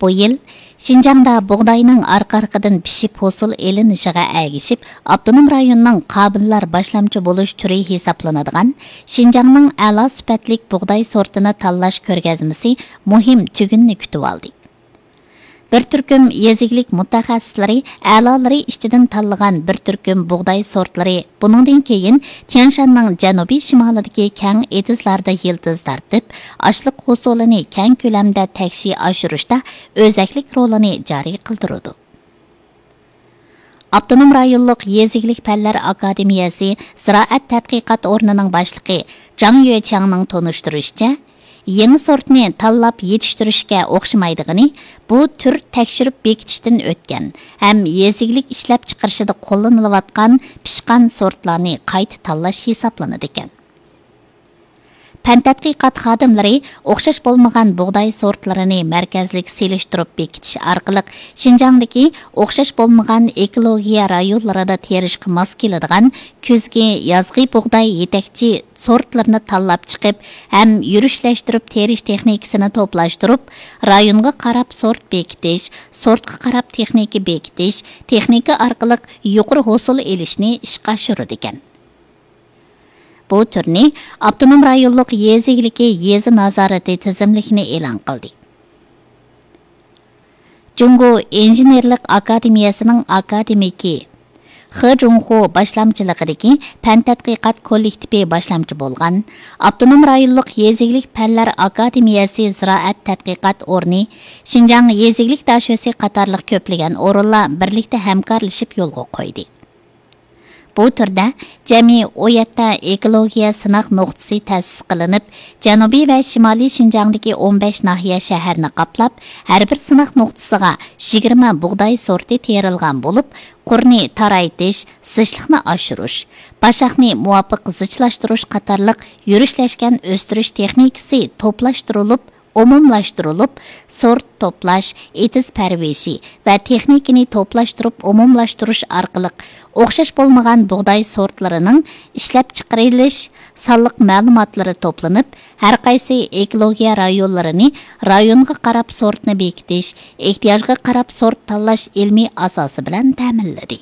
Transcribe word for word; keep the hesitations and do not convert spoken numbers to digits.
بۇ يىل شىنجاڭدا بۇغداينىڭ ئارقا-ئارقىدىن پىشىپ ھوسۇل ئېلىنىشىغا ئەگىشىپ، ئاپتونوم رايوننىڭ قابىللار باشلامچى بولۇش تۈرى ھېسابلىنىدىغان شىنجاڭنىڭ ئەلا سۈپەتلىك بۇغداي سورتىنى تاللاش كۆرگەزمىسى مۇھىم تۈگۈننى كۈتۈۋالدى. بىر تۈركۈم يېزا ئىگىلىك مۇتەخەسسىسلىرى ئەلالىرى ئىچىدىن تاللىغان بىر تۈركۈم بۇغداي سورتلىرى بۇنىڭدىن كېيىن تيەنشاننىڭ جەنۇبىي شىمالىدىكى كەڭ ئېتىزلاردا يىلتىز تارتىپ، ئاشلىق ھوسۇلىنى كەڭ كۆلەمدە تەكشى ئاشۇرۇشتا ئۆزەكلىك رولىنى جارى قىلدۇرىدۇ. ئاپتونوم رايونلۇق يېزا ئىگىلىك پەنلەر ئاكادېمىيەسى زىرائەت تەتقىقات ئورنىنىڭ باشلىقى جاڭ يۆچياڭنىڭ تونۇشتۇرۇشىچە، يېڭى سورتنى تاللاپ يېتىشتۈرۈشكە ئوخشىمايدىغىنى، بۇ تۈر تەكشۈرۈپ بېكىتىشتىن ئۆتكەن ھەم يېزا ئىگىلىك ئىشلەپچىقىرىشىدا قوللىنىلىۋاتقان پىشقان سورتلارنى قايتا تاللاش ھېسابلىنىدىكەن. پەن تەتقىقات خادىملىرى ئوخشاش بولمىغان بۇغداي سورتلىرىنى مەركەزلىك سېلىشتۇرۇپ بېكىتىش ئارقىلىق شىنجاڭدىكى ئوخشاش بولمىغان ئېكولوگىيە رايونلىرىدا تېرىشقا ماس كېلىدىغان كۈزگى، يازغى بۇغداي يېتەكچى سورتلىرىنى تاللاپ چىقىپ ھەم يۈرۈشلەشتۈرۈپ تېرىش تېخنىكىسىنى توپلاشتۇرۇپ، رايونغا قاراپ سورت بېكىتىش، سورتقا قاراپ تېخنىكا بېكىتىش، تېخنىكا ئارقىلىق يۇقىرى ھوسۇل ئېلىشنى ئىشقا ئاشۇرىدىكەن. بۇ تۈرنى ئاپتونوم رايونلۇق يېزا ئىگىلىكى يېزا نازارىتى تىزىملىكىنى ئېلان قىلدى. جۇڭگو ئىنژېنېرلىق ئاكادېمىيەسىنىڭ ئاكادېمىكى خې جۇڭخۇ باشلامچىلىقىدىكى پەن تەتقىقات كوللېكتىپى باشلامچى بولغان ئاپتونوم رايونلۇق يېزا ئىگىلىك پەنلەر ئاكادېمىيەسى زىرائەت تەتقىقات ئورنى، شىنجاڭ يېزا ئىگىلىك داشۆسى قاتارلىق كۆپلىگەن ئورۇنلار بىرلىكتە ھەمكارلىشىپ يولغا قويدى. بۇ تۈردە جەمئىي ئون يەتتە ئېكولوگىيە سىناق نۇقتىسى تەسىس قىلىنىپ، جەنۇبىي ۋە شىمالىي شىنجاڭدىكى ئون بەش ناھىيە شەھەرنى قاپلاپ، ھەر بىر سىناق نۇقتىسىغا يىگىرمە بۇغداي سورتى تېرىلغان بولۇپ، قۇرنى تارايتىش، زىچلىقنى ئاشۇرۇش، باشاقنى مۇۋاپىق زىچلاشتۇرۇش قاتارلىق يۈرۈشلەشكەن ئۆستۈرۈش تېخنىكىسى توپلاشتۇرۇلۇپ، ئومۇملاشتۇرۇلۇپ، سورت توپلاش، ئېتىز پەرۋىشى ۋە تېخنىكىنى توپلاشتۇرۇپ ئومۇملاشتۇرۇش ئارقىلىق ئوخشاش بولمىغان بۇغداي سورتلىرىنىڭ ئىشلەپچىقىرىلىش سانلىق مەلۇماتلىرى توپلىنىپ، ھەرقايسى ئېكولوگىيە رايونلىرىنى رايونغا قاراپ سورتنى بېكىتىش، ئېھتىياجغا قاراپ سورت تاللاش ئىلمىي ئاساسى بىلەن تەمىنلىدى.